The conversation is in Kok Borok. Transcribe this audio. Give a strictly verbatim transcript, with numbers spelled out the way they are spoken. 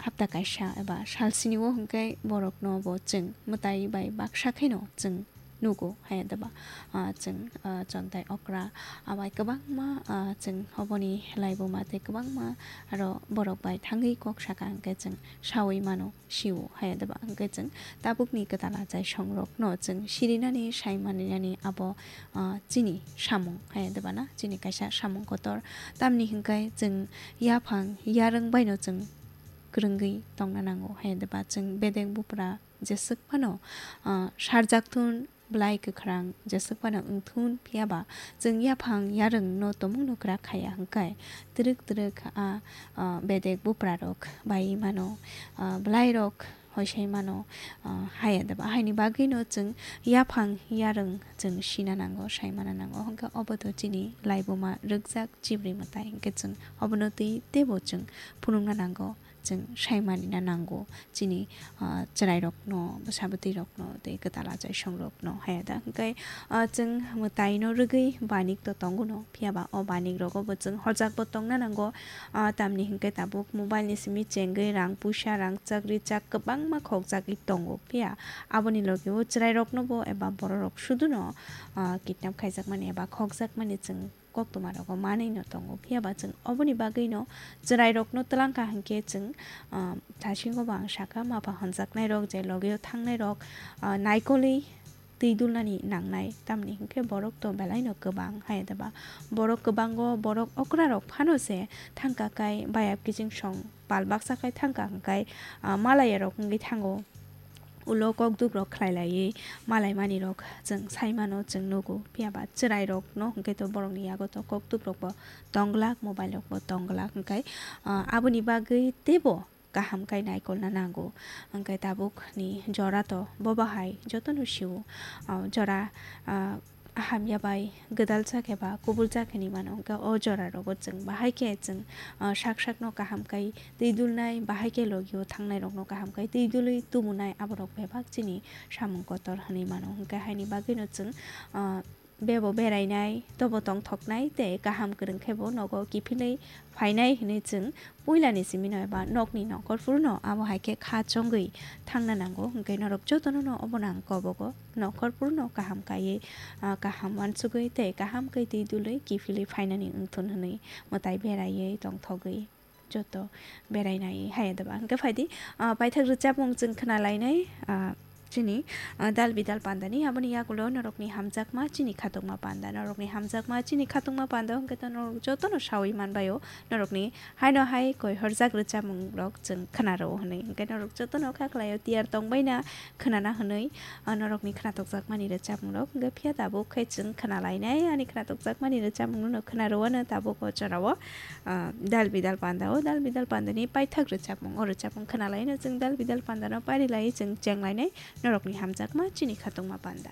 hapta kaisa eba sal sini o hwnkhe borokno bo chwng mwtai bai baksa kheno chwng nugo, haya deba, ah, chwng, ah, chontai okra, abai kwbangma, ah, chwng oboni laibuma tei kwbangma aro borok bai thangwi kok saka hwnkhe chwng sawi mano, sio, haya deba hwnkhe chwng tabukni kwtal achai songrokno chwng sirinani, saimaninani abo, ah, chini samung, haya deba na, chini kaisa samung kotor. Tamni hwnkhe chwng yaphang yarwng baino chwng kwrwngwi tongna nango, haya deba chwng bedek bupra jeswk phano, ah, sarjak thun, belai kwkhrang jeswk phano wng thun, phiya ba chwng yaphang yarwng no tomung no kwrak khaya hwnkhe twrwk twrwk a, ah, bedek bupra rok bai mano, ah, belai rok hoisai mano, ah, haya deba. Haini bagwi no chwng yaphang yarwng chwng sina nango, sai mana nango, hwnkhe obo to chini laibuma rwkjak chibri mwtai, hwnkhe chwng obono twi teibo chwng phunukna nango. Chwng sai manina nango chini, ah, chwrairokno, bwsa bwtwirokno tei kwtal achaisongrokno, haya da? Hwnkhe, ah, chwng mwtaino rwgwi banik to tongo no, phiya ba o banik rogo bo chwng horjakbo tongna nango. Ah, tamni hwnkhe tabuk mobile ni simi chengwi rang puisa, rang chak ri chak kwbangma khokjagwi tongo, phiya aboni logi o chwrairokno bo eba bororok suduno, ah, kidnap khaijakmani eba khokjakmani chwng koktwma rogo manwi no tongo, phiya ba chwng oboni bagwi no chwrai rokno twlang kha hinkhe chwng, ah, thasingo bo ang sakha, mapha honjaknai rok je logio thangnai rok, ah, naikolwi twi dulnani nangnai, tamni hinkhe borok to belai no kwbang, hai da ba borok kwbango, borok okra rok phano se thangka kai bayap kiching song pal baksa khai thangka hwnkhe, ah, malaya rok wngwi thango. Ulo kokduk rok khlai laiwi malai mani rok chwng sai mano, chwng nugo. Phiya ba chwrai rok no hwnkhe to borok ni yago to kokduk rok bo tong glak, mobile rok bo tong glak, hwnkhe, ah, aboni bagwi teibo kaham khai naikolna nango. Hwnkhe tabuk ni jora to bo bahai joto no sio, ah, jora, ah, hamya bai gwdal jak eba kubul jak hinwi mano, hwnkhe o jora rogo chwng bahai khe chwng, ah, sak sak no kaham khai twi dulnai, bahai khe logio thangnai rok no kaham khai twi dulwi tumunai, aborok bebak chini samung kotor hinwi mano. Hwnkhe haini bagwi no chwng, ah, bebo berainai, tobo tongthoknai tei kaham kwrwng khe bo nogo kiphilwi phainai hinwi chwng puilani simi no eba nokni nongkhor phuru no abo hai khe kha chongwi thangna nango. Hwnkhe norok jotono no obono ang kobogo, nongkhor phuru no kaham kaiwi, ah, kaham uansugwi tei kaham khe twi dulwi kiphilwi phainani wngthun hinwi mwtai beraiwi tongthogwi joto berainai hai da ba. Hwnkhe phaidi, ah, paithak rwchapmung chwng khna lainai, ah, chini, ah, dal bidal pandani, aboni yagulo norokni hamjakma chini khatungma panda, norokni hamjakma chini khatungma panda hwnkhe to norok jotono sawi manbaio, norokni haino hai koi horjak rwchapmung rok chwng khna rwo hwnwi, hwnkhe norok jotono kha khlaio tiyar tongbaina khwnana hwnwi, ah, norokni khnatukjakmani rwchapmung rok hwnkhe phiya tabuk khe chwng khna lainai, ani khnatukjakmani rwchapmung no khna rwano tabuk o jorao. Ah, dal bidal panda o, dal bidal panda ni paithak rwchapmung, o rwchapmung khna laino chwng dal bidal panda no pari lai chwng cheng lainai norokni hamjakma chini khatungma panda.